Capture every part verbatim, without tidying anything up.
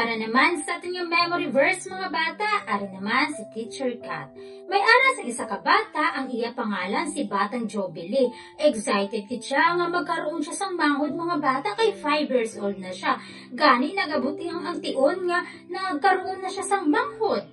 Para naman sa aton nga memory verse, mga bata, ari naman si Teacher Kat. May ara sa isa ka bata, ang iya pangalan si Batang Jubilee. Excited gid siya nga magkaroon siya sang manghod, mga bata, kay five years old na siya. Gani nagabot ang, ang tion nga nagkaroon na siya sang manghod.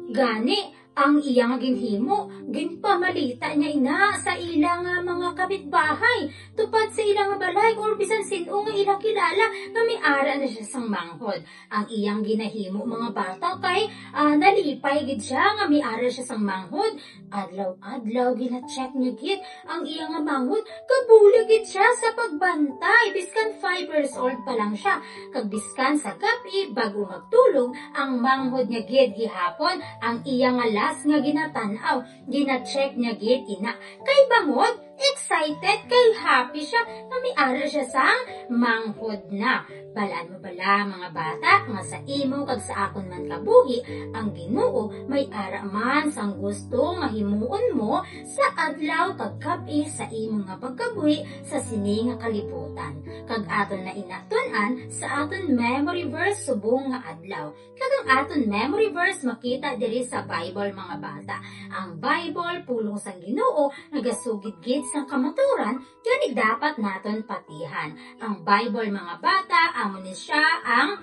Gani, ang iya nga ginhimo, ginpamalita niya ina sa ila nga mga kapitbahay, tupad sa ila nga balay, or bisan sin-o nga ila kilala nga may ara na siya sang manghod. Ang iyang ginahimo, mga bata, kay, ah, nalipay gid siya nga may ara siya sang manghod. Adlaw-adlaw gina-check niya gid ang iya nga manghod, kag bulig gid siya sa pagbantay, biskan five years old pa lang siya. Kag biskan sa gab-i, bago magtulog, ang manghod niya gid gihapon ang iya nga last nga ginatan-aw. Gina-check niya gid ina. Kay bangod, excited, kay happy siya nga may ara siya sang manghod na. Balaan mo bala, mga bata, nga sa imo kag sa akon man kabuhi, ang Ginoo may ara man sang gusto nga himuon mo sa adlaw kag gab-i sa imo nga pagkabuhi sa sini nga kalibutan. Kag aton na ina tun-an sa aton memory verse subong nga adlaw. Kag ang aton memory verse makita diri sa Bible, mga bata. Ang Bible, pulong sang Ginoo, nagasugid gid sang kamaturan, gani dapat naton patihan. Ang Bible, mga bata, amo ni siya ang,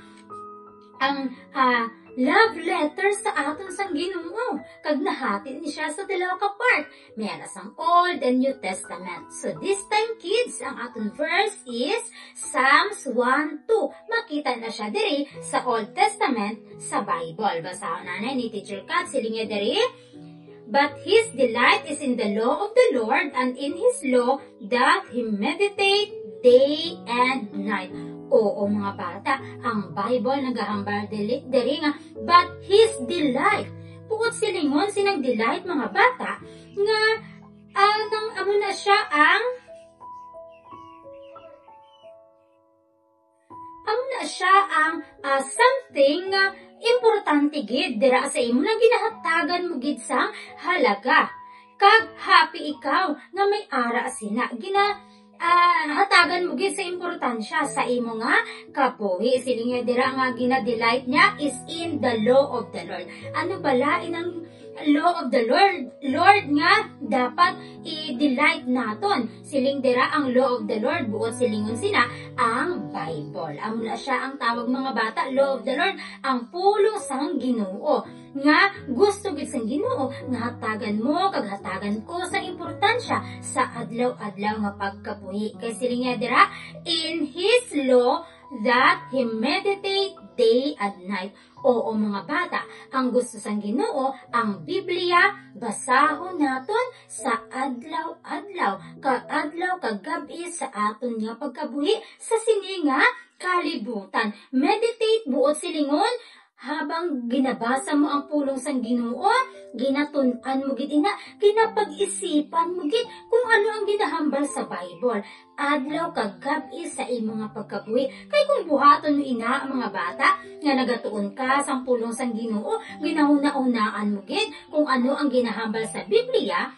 ang, ah, love letter sa aton sang Ginoo. Kag nahati ni siya sa dalawa ka part. May ara sang Old and New Testament. So this time, kids, ang aton verse is Psalms one two. Makita na siya diri sa Old Testament sa Bible. Basahon nanay ni Teacher Kat, siling niya diri, "But his delight is in the law of the Lord, and in his law doth he meditate day and night." Oo, mga bata, ang Bible nagahambal dili, diri nga, "But his delight." Buot silingon, sinang delight, mga bata, nga, ah, nang amo na siya ang, amo na siya ang, ah, something nga importante gid dira sa imo, nga ginahatagan mo gid sang halaga. Kag happy ikaw nga may ara sina. Gina-, ah, hatagan mo gid sa importansya sa imo nga kabuhi. Siling niya dira nga gina-delight niya is in the law of the Lord. Ano bala inang law of the Lord, Lord nga dapat i-delight naton? Siling dira, ang law of the Lord, buot silingon sina, ang Bible. Amo na siya ang tawag, mga bata, law of the Lord, ang pulong sang Ginoo, nga gusto gid sang Ginoo nga hatagan mo kag hatagan ko sa importansya sa adlaw-adlaw nga pagkabuhi. Kay siling niya dira, "In his law that he meditate day and night." Oo, mga bata, ang gusto sang Ginoo, ang Biblia, basahon naton sa adlaw-adlaw, kaadlaw, kagab-i sa aton nga pagkabuhi sa sini nga kalibutan. Meditate, buot silingon, habang ginabasa mo ang pulong sang Ginoo, ginatun-an mo gid ina, ginapag-isipan mo gid kung ano ang ginahambal sa Bible, adlaw kag gab-i sa imo nga pagkabuhi. Kay kung buhaton mo ina ang mga bata nga nagatuon ka sang pulong sang Ginoo, ginahunahunaan mo gid kung ano ang ginahambal sa Biblia,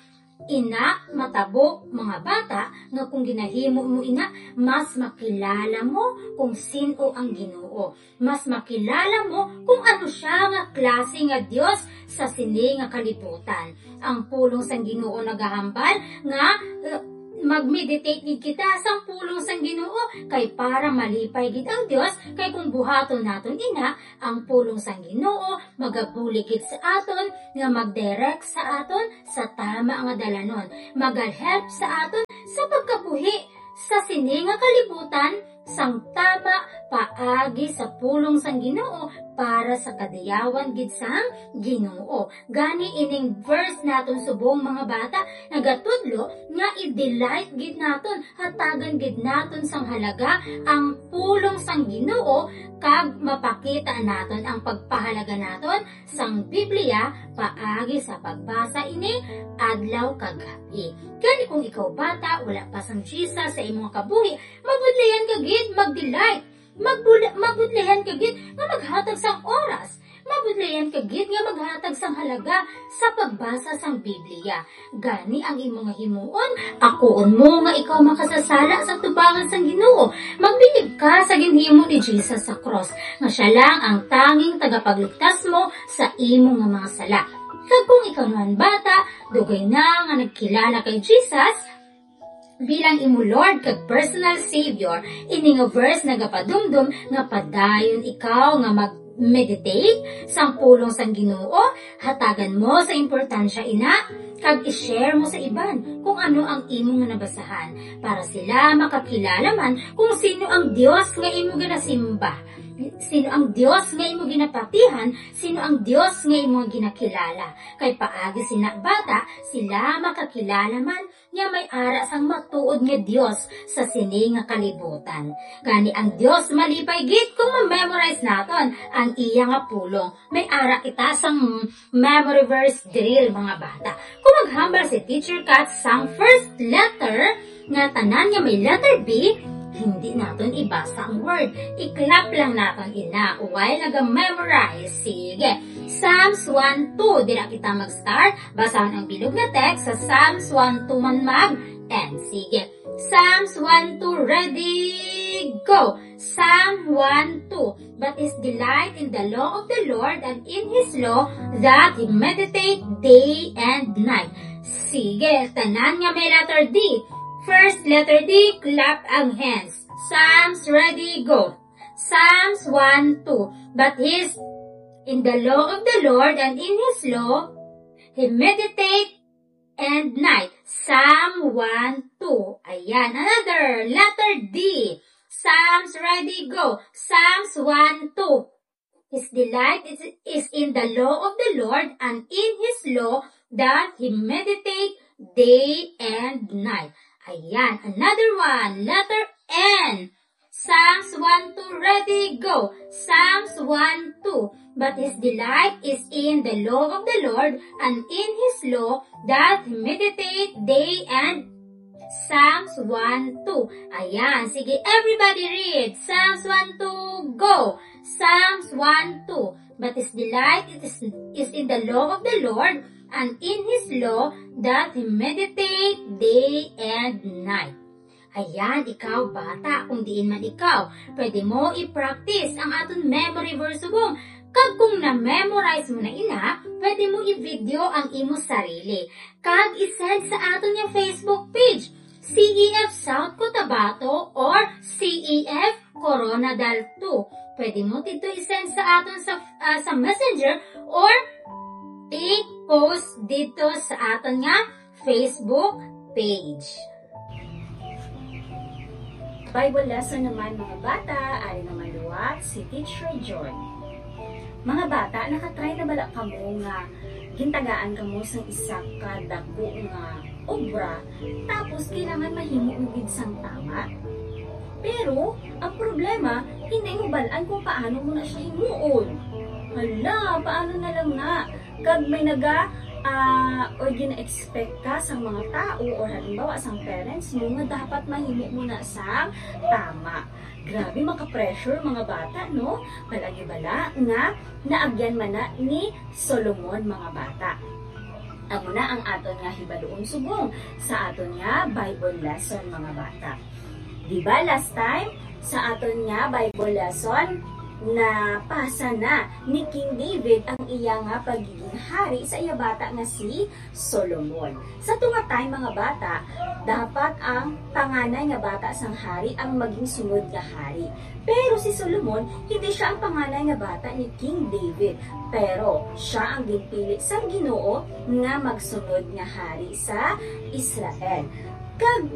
ina, matabo, mga bata, nga kung ginahimo mo ina, mas makilala mo kung sin-o ang Ginoo. Mas makilala mo kung ano siya nga klase nga Dios sa sini nga kalibutan. Ang pulong sang Ginoo nagahambal nga, uh, mag-meditate gid kita sang pulong sang Ginoo, kay para malipay gid ang Dios, kay kung buhaton naton ina, ang pulong sang Ginoo magabulig gid sa aton nga mag-direct sa aton sa tama nga dalanon, magahelp sa aton sa pagkabuhi sa sini nga kalibutan sang tama paagi sa pulong sang Ginoo para sa kadayawan gid sang Ginoo. Gani ining verse naton subong, mga bata, nagatudlo nga i-delight gid naton, hatagan gid naton sang halaga ang pulong sang Ginoo, kag mapakita naton ang pagpahalaga naton sang Biblia paagi sa pagbasa ini adlaw kag gab-i. Gani kung ikaw bata, wala pa sang Jesus sa imong kabuhi, mabudlayan ka gid mag-delight. Magbula-, mabudlayan ka gid nga maghatag sang oras. Budlayan ka gid nga maghatag sang halaga sa pagbasa sang Biblia. Gani ang imo nga himuon, akuon mo nga ikaw makasasala sa tubangan sang Ginoo. Magbilib ka sa ginhimo ni Jesus sa krus, nga siya lang ang tanging tagapagligtas mo sa imo nga mga sala. Kag kung ikaw naman bata, dugay na nga nagkilala kay Jesus bilang imo Lord kag personal Savior, ini nga verse nagapadumdom nga padayon ikaw nga mag-meditate sang pulong sang Ginoo, hatagan mo sa importansya ina, kag i-share mo sa iban kung ano ang imo nga nabasahan, para sila makakilala man kung sino ang Dios nga imo ginasimba, sino ang Dios nga imo ginapatihan, sino ang Dios nga imo ginakilala. Kay paagi sina bata, sila makakilala man nga may ara sang matuod nga Dios sa sini nga kalibutan. Gani ang Dios malipay gid kung ma-memorize naton ang iya nga pulong. May ara kita sang memory verse drill, mga bata. Kung maghambal si Teacher Kat sang first letter nga tanan nga may letter B, hindi naton ibasa ang word. I-clap lang naton ina, while naga-memorize. Sige. Psalms one two, dira kita mag-start. Basahon ang bilog nga text sa Psalms one two man mag-end. Sige. Psalms one two, ready, go! Psalm one two. But his delight in the law of the Lord, and in his law that he meditate day and night. Sige, tanan nga may letter D. First letter D, clap ang hands. Psalms, ready, go. Psalms one two. But his, in the law of the Lord, and in his law he meditate and night. Psalm one two. Ayan, another letter D. Psalms, ready, go. Psalms one two. His delight is, is in the law of the Lord, and in his law that he meditate day and night. Ayan, another one, letter N. Psalms one two, ready, go. Psalms one two. But his delight is in the law of the Lord, and in his law that he meditate day and Psalms one two. Ayan, sige, everybody read. Psalms one two, go. Psalms one two. But his delight is, is in the law of the Lord, and in his law that he meditate day and night. Ayan, ikaw, bata, kung diin man ikaw, pwede mo i-practice ang aton memory verse subong. Kag kung na-memorize mo na ina, pwede mo i-video ang imo sarili. Kag i-send sa aton nga Facebook page, C E F South Cotabato or C E F Corona Dal two. Pwede mo dito i-send sa aton sa, ah, sa Messenger or i-post dito sa aton nga Facebook page. Bible lesson naman, mga bata, ari naman liwat si Teacher Joy. Mga bata, nakatry na bala kamo nga gintagaan kamo sang isa ka dako nga obra, tapos kailangan mahimo mo gid sang tama? Pero ang problema, hindi mo balaan kung paano mo na siya himuon. Hala, paano na lang na? Kag may naga, ah, or gina-expect ka sang mga tao or halimbawa sang parents mo nga dapat mahimo mo na sang tama. Grabe, maka-pressure, mga bata, no? Palagi bala nga naagyan man na ni Solomon, mga bata. Amo na ang aton nga hibaluon subong sa aton nga Bible lesson, mga bata. Di ba last time, sa aton nga Bible lesson, napasa na ni King David ang iya nga pagiging hari sa iya bata nga si Solomon. Sa tunga time, mga bata, dapat ang panganay nga bata sang hari ang maging sunod nga hari. Pero si Solomon, hindi siya ang panganay nga bata ni King David, pero siya ang ginpili sang Ginoo nga magsunod nga hari sa Israel. Kag